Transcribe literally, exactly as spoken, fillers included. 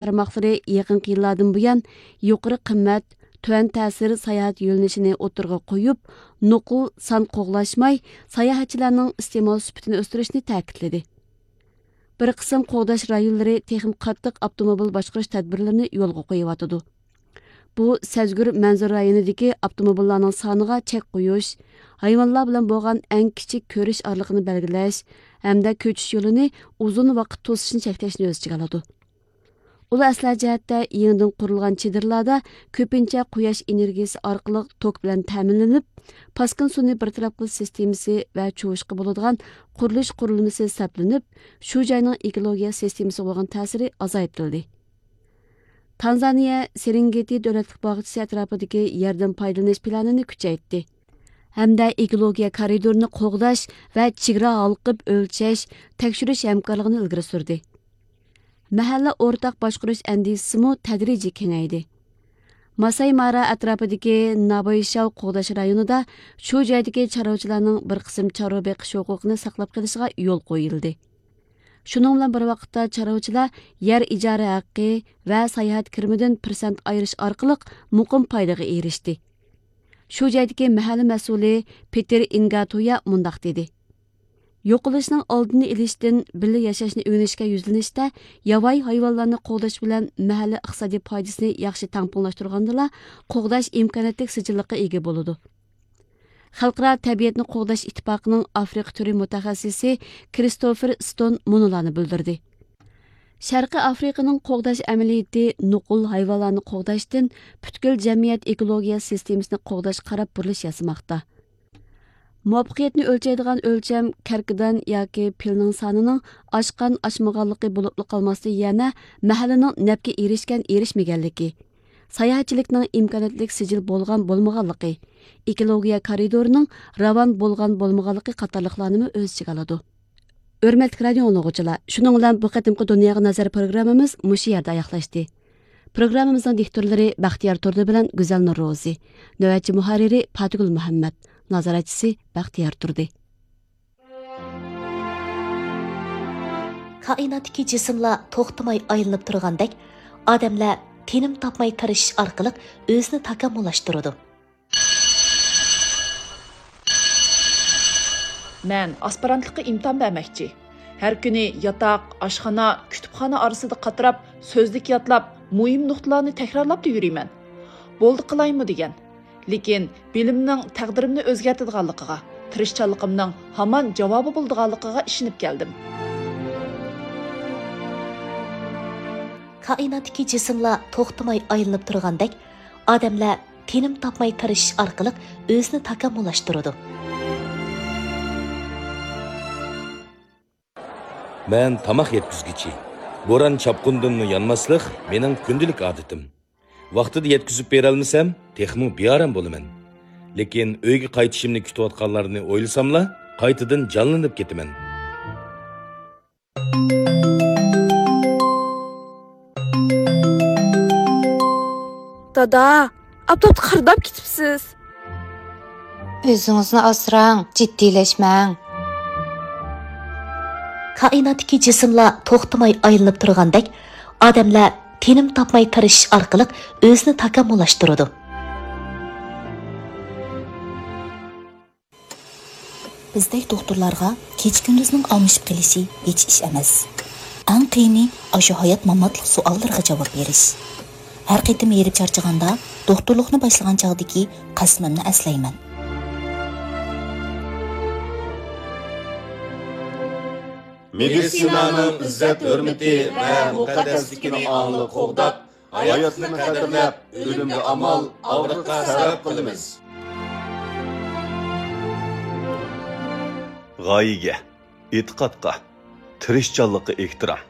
تارماقلىرى يېقىنقى يىللاردىن بۇيان يۇقىرى قىممەت، تۆۋەن تەسىر ساياھەت يۆنىلىشىنى ئوتتۇرىغا قويۇپ، نوقۇل سان قوغلاشماي، ساياھەتچىلەرنىڭ ئىستېمال سۈپىتىنى ئۆستۈرۈشنى تەكىتلىدى. بىر قىسىم قوغداش رايونلىرى تېخىمۇ قاتتىق ئاپتوموبىل باشقۇرۇش تەدبىرلىرىنى يولغا قويۇۋاتىدۇ. بۇ سەزگۈر مەنزىرە رايونىدىكى ئاپتوموبىللارنىڭ سانىغا چەك قويۇش، ھايۋانلار بىلەن بولغان ئەڭ كىچىك كۆرۈش ئارىلىقىنى بەلگىلەش ھەمدە كۆچۈش يولىنى ئۇزۇن ۋاقىت توسۇشنى چەكلەشنى ئۆز ئىچىگە ئالىدۇ. ئۇلار ئەسلىھە جەھەتتە يېڭىدىن قۇرۇلغان چېدىرلاردا كۆپىنچە قۇياش ئېنېرگىيىسى ئارقىلىق توك بىلەن تەمىنلىنىپ، پاسكىنا سۇنى بىر تەرەپ قىلىش سىستېمىسى ۋە چۇۋۇشقا بولىدىغان قۇرۇلۇش قۇرۇلمىسى سەپلىنىپ، شۇ جاينىڭ ئېكولوگىيە سىستېمىسىغا بولغان تەسىرى ئازايتىلدى. تانزانىيە سېرېنگېتى دۆلەتلىك باغچىسى ئەتراپىدىكى يەردىن پايدىلىنىش پىلانىنى كۈچەيتتى ھەمدە ئېكولوگىيە كارىدورىنى قوغداش ۋە چېگرا ھالقىپ ئۆلچەش، تەكشۈرۈش ھەمكارلىقىنى ئىلگىرى سۈردى. مەھەللە ئورتاق باشقۇرۇش ئەندىزىسىمۇ تەدرىجىي كېڭەيدى. ماساي مارا ئەتراپىدىكى نابايشاۋ قوغداش رايونىدا شۇ جايدىكى چارۋىچىلارنىڭ بىر قىسىم چارۋا بېقىش ھوقۇقىنى ساقلاپ قېلىشىغا يول قويۇلدى. شۇنىڭ بىلەن بىر ۋاقىتتا، چارۋىچىلار يەر ئىجارە ھەققى ۋە ساياھەت كىرىمىدىن پىرسەنت ئايرىش ئارقىلىق مۇقىم پايدىغا ئېرىشتى. شۇ جايدىكى مەھەللە مەسئۇلى پېتېر ئىنگاتۇيا مۇنداق دېدى: يوقىلىشنىڭ ئالدىنى ئېلىشتىن بىللە ياشاشنى ئۆگىنىشكە يۈزلىنىشتە، ياۋايى ھايۋانلارنى قوغداش بىلەن مەھەللە ئىقتىسادىي پايدىسىنى ياخشى تەڭپۇڭلاشتۇرغاندىلا، قوغداش ئىمكانىيەتلىك سىجىللىققا ئىگە بولىدۇ. خەلقئارا تەبىئەتنى قوغداش ئىتتىپاقىنىڭ ئافرىقا تۈرى مۇتەخەسسىسى كرىستوفېر ستون مۇنۇلارنى بىلدۈردى: شەرقىي ئافرىقىنىڭ قوغداش ئەمەلىيىتى نوقۇل ھايۋانلارنى قوغداشتىن پۈتكۈل جەمئىيەت ئېكولوگىيە سىستېمىسىنى قوغداشقا قاراپ بۇرۇلۇش ياسىماقتا. مۇۋەپپەقىيەتنى ئۆلچەيدىغان ئۆلچەم كەركىدان ياكى پىلنىڭ سانىنىڭ ئاشقان-ئاشمىغانلىقى بولۇپلا قالماستىن، يەنە مەھەللىنىڭ نەپكە ئېرىشكەن-ئېرىشمىگەنلىكى، ساياھەتچىلىكنىڭ ئىمكانىيەتلىك سىجىل بولغان-بولمىغانلىقى، ئېكولوگىيە كارىدورىنىڭ راۋان بولغان-بولمىغانلىقى قاتارلىقلارنىمۇ ئۆز ئىچىگە ئالىدۇ. ھۆرمەتلىك رادىيو ئاڭلىغۇچىلار، شۇنىڭ بىلەن بۇ قېتىمقى دۇنياغا نەزەر پروگراممىمىز مۇشۇ يەردە ئاياغلاشتى. پروگراممىمىزنىڭ دىكتورلىرى بەختىيار تۇردى بىلەن گۈزەلنۇر روزى، نۆۋەتچى مۇھەررىرى پاتىگۈل مۇھەممەت، نازارەتچىسى بەختىيار تۇردى. كائىناتتىكى جىسىملار توختىماي ئايلىنىپ تۇرغاندەك، ئادەملەر تىنىم تاپماي تىرىشىش ئارقىلىق ئۆزىنى تاكامۇللاشتۇرىدۇ. مەن ئاسپىرانتلىققا ئىمتىھان بەرمەكچى. ھەر كۈنى ياتاق، ئاشخانا، كۇتۇپخانا ئارىسىدا قاتراپ، سۆزلۈك ياتلاپ، مۇھىم نۇقتىلارنى تەكرارلاپلا يۈرىمەن. بولدى قىلايمۇ دېگەن. لېكىن بىلىمنىڭ تەقدىرىمنى ئۆزگەرتىدىغانلىقىغا، تىرىشچانلىقىمنىڭ ھامان جاۋابى بولىدىغانلىقىغا ئىشىنىپ كەلدىم. كائىناتتىكى جىسىملار توختىماي ئايلىنىپ تۇرغاندەك، ئادەملەر تىنىم تاپماي تىرىشىش ئارقىلىق ئۆزىنى تاكامۇللاشتۇرىدۇ. مەن تاماق يەتكۈزگۈچى. بوران-چاپقۇندىنمۇ يانماسلىق مېنىڭ كۈندىلىك ئادىتىم. ۋاقتىدا يەتكۈزۈپ بېرەلمىسەم، تېخىمۇ بىئارام بولىمەن. لېكىن ئۆيگە قايتىشىمنى كۈتۈۋاتقانلارنى ئويلىساملا، قايتىدىن جانلىنىپ كېتىمەن. دادا، ئاپتاپتا قىرداپ كېتىپسىز. ئۆزىڭىزنى ئاسراڭ، جىددىيلەشمەڭ. كائىناتتىكى جىسىملار توختىماي ئايلىنىپ تۇرغاندەك، ئادەملەر تىنىم تاپماي تىرىشىش ئارقىلىق ئۆزىنى تاكامۇللاشتۇرىدۇ. بىزدەك دوختۇرلارغا كېچە-كۈندۈزنىڭ ئالمىشىپ قېلىشى ھېچ ئىش ئەمەس. ئەڭ قىيىنى ئاشۇ ھايات-ماماتلىق سوئاللىرىغا جاۋاب بېرىش. ھەر قېتىم ھېرىپ چارچىغاندا، دوختۇرلۇقنى باشلىغان چاغدىكى قەسىمىمنى ئەسلەيمەن. مېدىتسىنانىڭ ئىززەت-ھۆرمىتى ۋە مۇقەددەسلىكىنى ئاڭلىق قوغداپ، ھاياتلىقنى قەدىرلەپ، ئۆلۈمگە ئامال، ئاغرىققا سەۋەب قىلىمىز. غايىگە، ئېتىقادقا، تىرىشچانلىققا ئېھتىرام.